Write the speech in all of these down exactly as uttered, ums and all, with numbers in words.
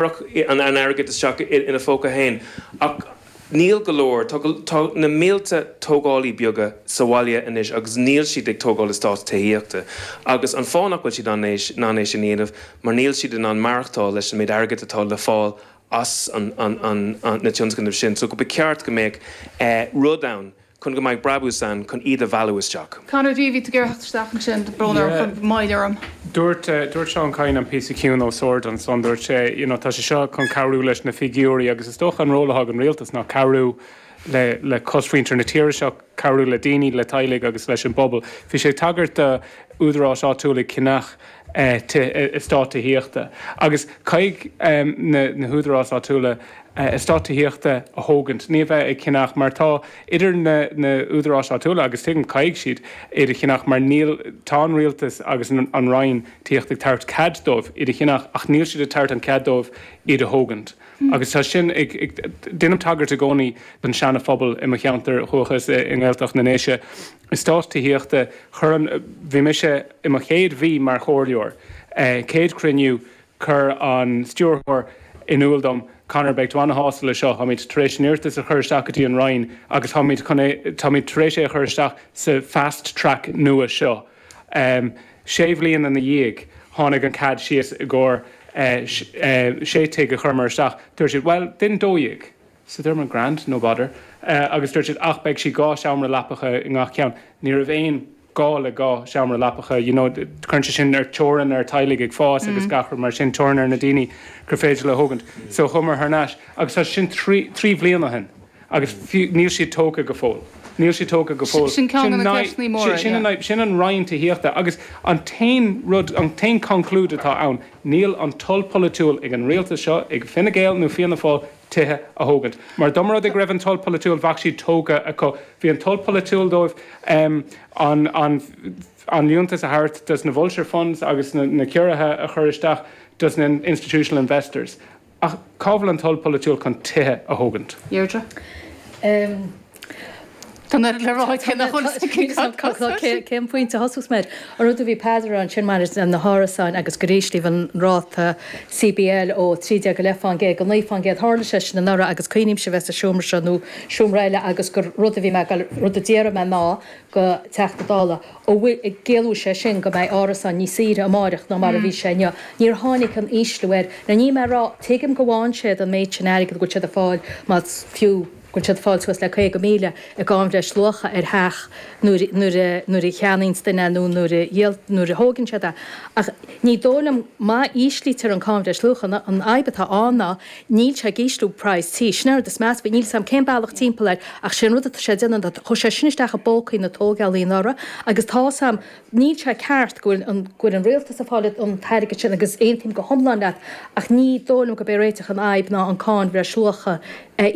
Chuirfeadh an airgead isteach ina phóca féin. Ach níl go leor, tá na mílte tógálaí beaga sa bhaile anois agus níl siad ag tógáil eastát tithíochta. Agus an fáth nach bhfuil siad in ann é sin a dhéanamh mar níl siad in ann maireachtáil leis an méid airgid atá le fáil as na tionscnaimh sin. So go ba cheart go mbeadh rud ann chun go mbeidh brabús ann chun iad a mhealladh isteach. Conor D, bhí tú ag iarraidh theacht isteach ansin, brón orm, chun moill orm. Dúirt, dúirt Seán Kyne an píosa ciúin os ard ansan, dúirt sé, you know, tá sé seo chun cabhrú leis na figiúirí agus is dócha an ról atá ag an rialtas ná cabhrú le, le cosmhuintir na tíre seo, cabhrú le daoine, le teaghlaigh agus leis an bpobal. Bhí sé ag tagairt do údaráis áitiúla ag ceannach eastát tithíochta agus caithfidh na, na húdaráis áitiúla eastát tithíochta a thógaint, ní a bheith ag ceannach mar tá idir na na údaráis áitiúla agus tuigim caithfidh siad iad a cheannach mar níl, tá an rialtas agus an an Roinn Tithíochta ag tabhairt cead dóibh iad a cheannach ach níl siad ag tabhairt an cead dóibh iad a thógaint agus tá sin ag, ag, déanaim tagairt i gcónaí don Seana Phobal i mo cheantar dhúchais i nGaeltacht na nDéise. Eastát tithíochta, chuir an, bhí mise i mo chéad mhí mar chomhairleoir, céad cruinniú, Chuir an stiúrthóir in iúl dom, Conor, beidh tú ana-shásta le seo, táimid tar éis an iarratas a chur isteach go dtí an Roinn agus táimid chun é, táimid tar éis é a chur isteach sa fast track nua seo. Sé bhliain ina dhiaidh, tháinig an cead síos i gcomhair sé tigh a chuireamar isteach. Dúirt siad, bhuel, déan dó dhéag. So dúirt mé, grand, no bother. Agus dúirt siad, ach beidh sí dhá seomra leapacha i ngach ceann. Ní raibh aon. gá le dhá seomra leapacha, you know, cuireann sé sin ar teorainn ar teaghlaigh ag fás agus gach rud mar sin, teorainn ar na daoine gur féidir leo thógaint. So chuamar thar n-ais agus tá sin trí, trí bhliain ó shin agus fiú, níl siad tógtha go fóill. Níl siad tógtha go fóill. Sin ceann de na ceisteanna móra, Sin an fhadhb, sin an Roinn Tithíochta agus an t-aon rud, an t-aon conclúid atá ann, níl an toil polaitiúil ag an rialtas seo, ag Fine Gael nó Fianna Fáil tithe a thógaint. Mar dá mba rud é go raibh an toil polaitiúil, bheadh siad tógtha acu. Bhí an toil polaitiúil dóibh an an liúntas a thabhairt dos na vulture funds agus na ciorruithe a chur isteach dos na institutional investors. Ach cá bhfuil an toil polaitiúil chun tithe a thógaint? Deirdre. Tá an oiread le rá aici nach bhfuil fhios aici. Cén pointe a thosós mé air? An rud a bhí Peadar a rá ansin maidir le na hárasáin agus gur íslíodh an ráta C B L ó trí déag go leith fán gcéad go naoi fán gcéad, tharla sé sin anuraidh agus cuimhnímse a bheith sa seomra seo nó seomra eile agus gur rud a bhí mé ag rud a d'iarr mé ná go Teachta Dála an bhfuil gciallóidh sé sin go mbeidh árasáin níos saoire amáireach ná mar a bhí sé inniu. Níor tháinig an ísliú air. Now níl mé ag rá, tuigim go bhfaigheann siad an méid sin airgid go bhfuil siad ag fáil más fiú go bhfuil siad ag fáil suas le caoga míle i gcáin bhreisluacha ar theach nuair nuair a nuair a cheannaíonns duine é nó nuair a dhíol nuair a thógann siad é. Ach ní dóigh liom má íslítear an cáin bhreisluacha an an fhadhb atá ann ná níl sé ag ísliú praghas tí. Sin an rud is measa faoi. Níl 's a'm cén bealach timpeall air ach sé an rud atá sé ag déanamh ná chuaigh sé sin isteach i bpócaí na tógálaí anuraidh agus tá 's a'm Níl sé ceart go bhfuil an go bhfuil an rialtas ag fáil an t-airgead sin agus aontaím go hiomlán leat ach ní dóigh liom gurb é réiteach an fhadhb ná an cáin bhreisluacha a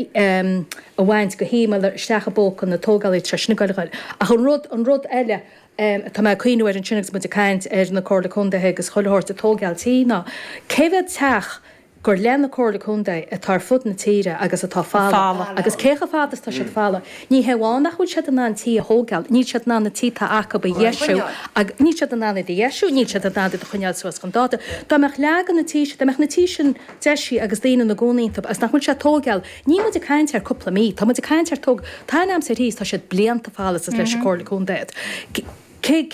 a bhaint go hiomlán isteach i bpóca na tógálaí tá sé sin ag goil a ghoil. Ach an rud an rud eile atá mé ag cuimhniú air ansin agus muid ag caint ar na Comhairle Contaetha agus chuile shórt ag tógáil tí ná cé mhéad teach gur le na Comhairle Contae atá ar fud na tíre agus atá folamh agus cé chomh fada is atá siad folamh. Ní hé amháin nach bhfuil siad in ann tí a thógáil, níl siad in ann na tí atá acu a dheisiú agus níl siad in ann iad a dheisiú, níl siad in ann iad a choinneáil suas chun dáta. Dá mbeadh leath de na tí sin, dá mbeadh na tí sin deisithe agus daoine ina gcónaí iontu agus nach bhfuil sé ag tógáil, níl muid ag caint ar cúpla mí, tá muid ag caint ar tóg, tá an aimsir thíos, tá siad blianta folamh is leis an Comhairle Contae iad. Cén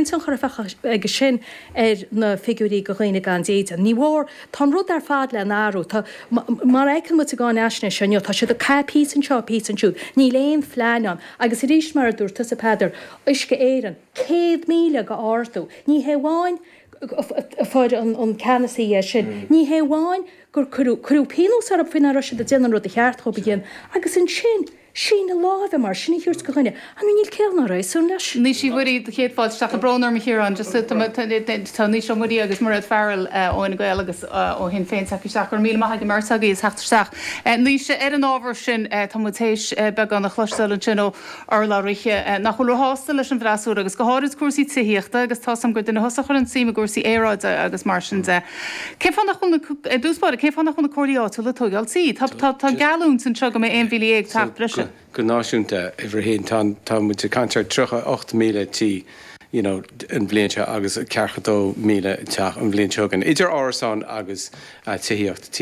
tionchar a bheadh aige sin ar na figiúirí do dhaoine gan dídean? Ní mhór. Tá an rud ar fad le n-athrú. Tá, mar a fheiceann muid sa gcáinaisnéis seo inniu, tá siad ag caitheamh píosa anseo, píosa ansiúd. Níl aon phlean ann. Agus arís, mar a dúirt tusa, Peadar, Uisce Éireann, céad míle go ardú. Ní hé amháin a fuair an ceannasaí é sin, ní hé amháin gur cuireadh, cuireadh pionós orthu faoi nach raibh siad ag déanamh an rud a cheart dhóibh a dhéanamh. Agus ansin, Síneadh láimhe mar sin a thabhairt do dhuine, I mean níl ciall ná réasún leis. Naoise Uí Mhuirí, do chéad fáilte isteach. Tá brón orm a Chiaráin, just tá Naoise Ó Muirí agus Mairéad Farrell ó Fhine Gael agus ó Shinn Féin tagtha isteach. Go raibh míle maith ag an mbeirt agaibh as theacht isteach. Naoise, ar an ábhar sin, tá muid théis beagán a chloisteáil ansin ó urlabhraithe nach bhfuil róshásta leis an bhfreasúra agus go háirid cúrsaí tithíochta agus tá's agam gur duine thusa a chuireann suim i gcúrsaí aeráide agus mar sin de. Cén fáth nach bhfuil na, i dtús báire, cén fáth nach bhfuil na comhairlí áitiúla ag tóigeáil tí? Tá, tá, tá geallúint anseo go mbeidh aon mhíle dhéag teach breise. Go náisiúnta, uimhir a haon, tá, tá muid ag caint ar tríocha ocht míle tí you know, an bhliain seo agus ceathracha dó míle teach an bhliain seo chugainn. Idir árasáin agus uh, tithíocht.